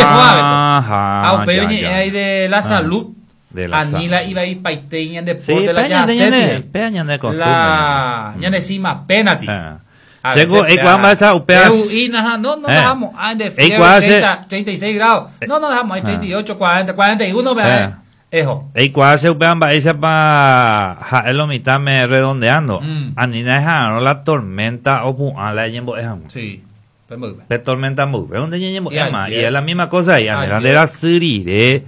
Ah, Ha upéi ya, oñe'ẽ ya. ahí de la Ah, salud. de la Ani la salud. ivaipaite ñande Sí, porte la pe ñande, yaseti. ñande, pe ñande costumbre. La ñande cima penati. Ah. A Seko, veces eikuaa mba'éicha upéva- Eu'ína, no, no Eh. dejamos. Ah, de fiebre, Eikuaa che- 30, 36 grados. No, no dejamos. Hay 38, 40, 41, vea, Eh. Ejo. Eikuaa che upéva mba'éichapa ha'e lo mitãme redondeando. Anína eha'arõ la tormenta opu'ã la eñembo'e hag̃ua. Sí, pe mboyve. Pe tormenta mboyve onde ñañembo'éma. Y Y ayer. es la misma cosa ahí. Anína Ayer. nde rasy rire,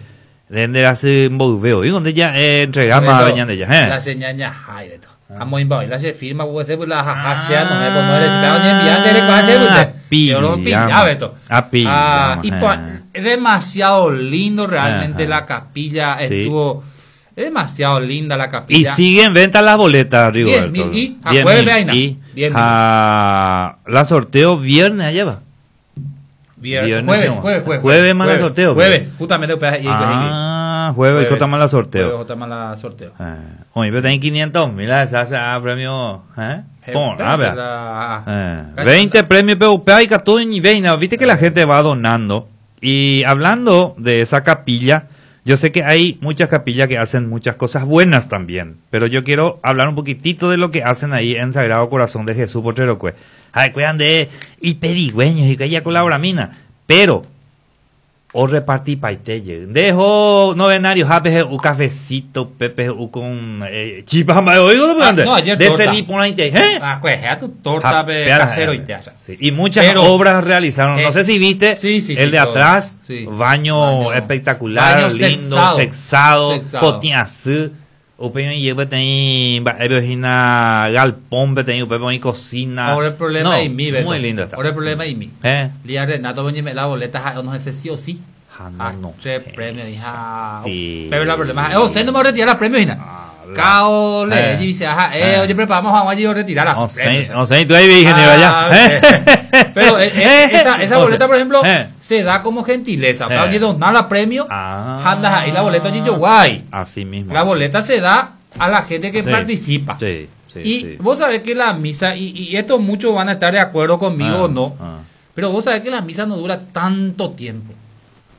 de nde rasy mboyve oĩ onde ja'e entregáma Beto, ñande jahe. La señal ñahái, Beto. Amoĩmba oĩ la che firma, pues, pues, la jaja, che, no me pongo el esperado, ni enviar, ni recuerdo, che, pues, Ah, yo lo pillama. pillaba, Beto. Ah, pillama, Ah, y eh. pues, es demasiado lindo realmente Ajá. la capilla, Sí. estuvo es demasiado linda la Y capilla. sigue en venta las boletas, Rigoberto. 10.000 y a 10.000 jueves, vaina. y 10.000. a la sorteo viernes allá va. Viernes, Viernes, jueves, sí, jueves, jueves, jueves más la sorteo, Jueves, justamente jueves, y- Ah, jueves, y más la sorteo. Jueves, justamente la sorteo. Eh, oye, pero tienen 500 mil, esa hace ah, premio, ¿eh? Pon, a ver. 20 premios PUP y 14 y 20. Viste que la gente va donando. Y hablando de esa capilla, yo sé que hay muchas capillas que hacen muchas cosas buenas también. Pero yo quiero hablar un poquitito de lo que hacen ahí en Sagrado Corazón de Jesús Potrero Cue. Ay, cuidan de y pedigüeños y que ella colabora mina. Pero o repartí paiteye. Dejo novenario, jape, un cafecito, pepe, u con chipa, oigo, Ah, no, ayer de torta. ese ni por ahí te- ¿eh? Ah, pues, ya tu torta Ah, pe, pea- casero y te hace. Sí, Y muchas Pero- obras realizaron. No Eh, sé si viste sí, sí, el sí, de todo. atrás, Sí. baño, Baño. espectacular, Baño lindo, sexado. sexado, Sexado. potiazú. Upe y peteĩ mba'épe hína galpón peteĩ upépe oĩ cocina. Ahora el problema No, es mi, Beto. Muy lindo está. Ahora el problema es mi. Eh. Lía Renato me la boleta, ja, no sé sí o sí. Ah, no, Ah, no. Tres premios, hija. Sí. Pero el problema es, oh, se no me retirar la premio, hija. Ah, la- Cao, le Eh. dice, ajá, oye, preparamos a allí retirar la No premio. sé, no sé, tú ahí vi, ingeniero, Ah, allá. Eh. Pero esa No sé. boleta, por ejemplo, Eh. se da como gentileza. Para que donar la premio, Ah. andas ahí la boleta allí yo guay. Así mismo. La boleta se da a la gente que Sí. participa. Sí, sí, y sí. vos sabés que la misa, y esto muchos van a estar de acuerdo conmigo Ah, o no, ah. pero vos sabés que la misa no dura tanto tiempo.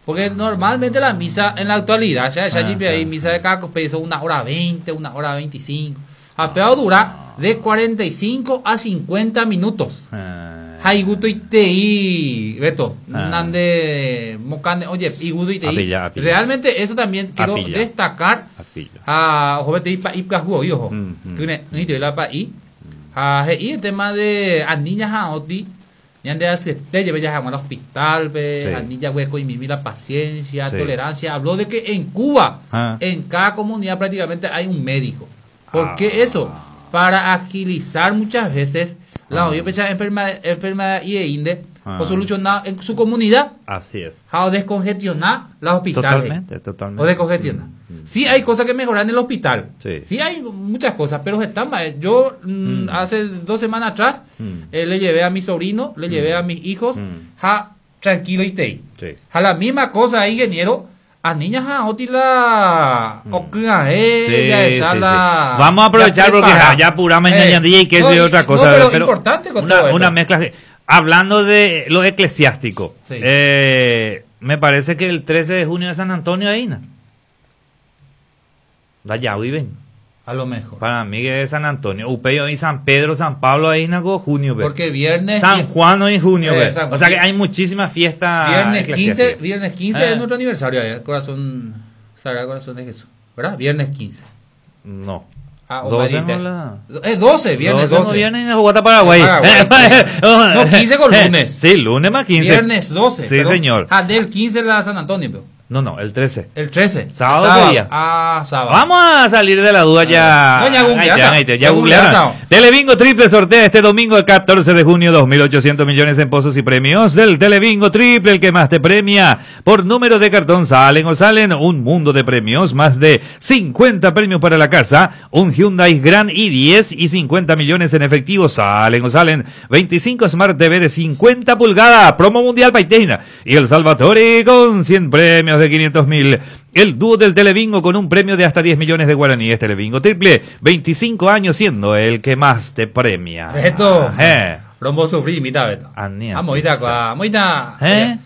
Porque normalmente la misa en la actualidad, ya, ya Ah, hay ah, misa de cada peso 1 hora 20, 1 hora 25. A peor dura de 45 a 50 minutos. Ah. Haiguto y tei, Beto, Ah. nande, mocande, oye, iguto y tei. Apilla, apilla. Realmente eso también quiero Apilla. destacar. Apilla. Ah, ojo, vete, ipa, ipa, jugo, ojo. Mm. Ni te la pa i. Ah, y el tema de a niñas a oti, ñande hace te lleve ya al hospital, ve, Sí. a niña hueco y mimi la paciencia, Sí. tolerancia. Habló de que en Cuba, Ah. en cada comunidad prácticamente hay un médico. ¿Por Ah. qué eso? Para agilizar muchas veces la Ah. oye, pues, enfermedad y e inde, Ah. o solucionar en su comunidad, Así es. o descongestionar los hospitales. Totalmente, totalmente. O descongestionar. Mm. Sí hay cosas que mejorar en el hospital. Sí. hay muchas cosas, pero están mal. Yo hace 2 semanas atrás le llevé a mi sobrino, le llevé a mis hijos, ja, tranquilo y te. Sí. Ja, la misma cosa, ingeniero, a niñas ja, otila, ocuga, ya Sí, esa sí, la- sí. Vamos a aprovechar ya porque prepara. ya apuramos en ñandilla y que no, es otra no, cosa. pero, pero importante con una, todo esto. una mezcla. Hablando de lo eclesiástico, Sí. me parece que el 13 de junio de San Antonio ahí, ¿no? Da ya viven. A lo mejor. Para mí que es San Antonio. Upeyo y San Pedro, San Pablo ahí, ¿no? Junio, ve. Porque viernes. San Juan hoy en junio, ve. San O sea que Juan. hay muchísimas fiestas. Viernes 15, eclesiásticas. viernes 15 es nuestro aniversario, corazón, Sagrado Corazón de Jesús, ¿verdad? Viernes 15. No. Ah, o 12 Marita. no la... 12, viernes 12. 12. No viernes en Bogotá, Paraguay. Paraguay, sí. No, 15 con lunes. Sí, lunes más 15. Viernes 12. Sí, perdón. señor. Ah, del 15 la San Antonio, pero. No, no, el 13. El 13. Sábado El sería. Ah, sábado. Vamos a salir de la duda ya. No, ya Ahí googlearon. ya, ahí ya Ya googlearon. googlearon. Telebingo Triple sortea este domingo el 14 de junio 2.800 millones en pozos y premios del Telebingo Triple, el que más te premia. Por número de cartón salen o salen un mundo de premios, más de 50 premios para la casa, un Hyundai Grand i10 y 50 millones en efectivo salen o salen 25 Smart TV de 50 pulgadas, promo mundial Paitena y el Salvatore con 100 premios de 500.000. El dúo del Telebingo con un premio de hasta 10 millones de guaraníes. Telebingo Triple, 25 años siendo el que más te premia. Beto. Eh. Rombo sufrí, mita, Beto. Ania, Ah, moita, pisa. moita. Eh?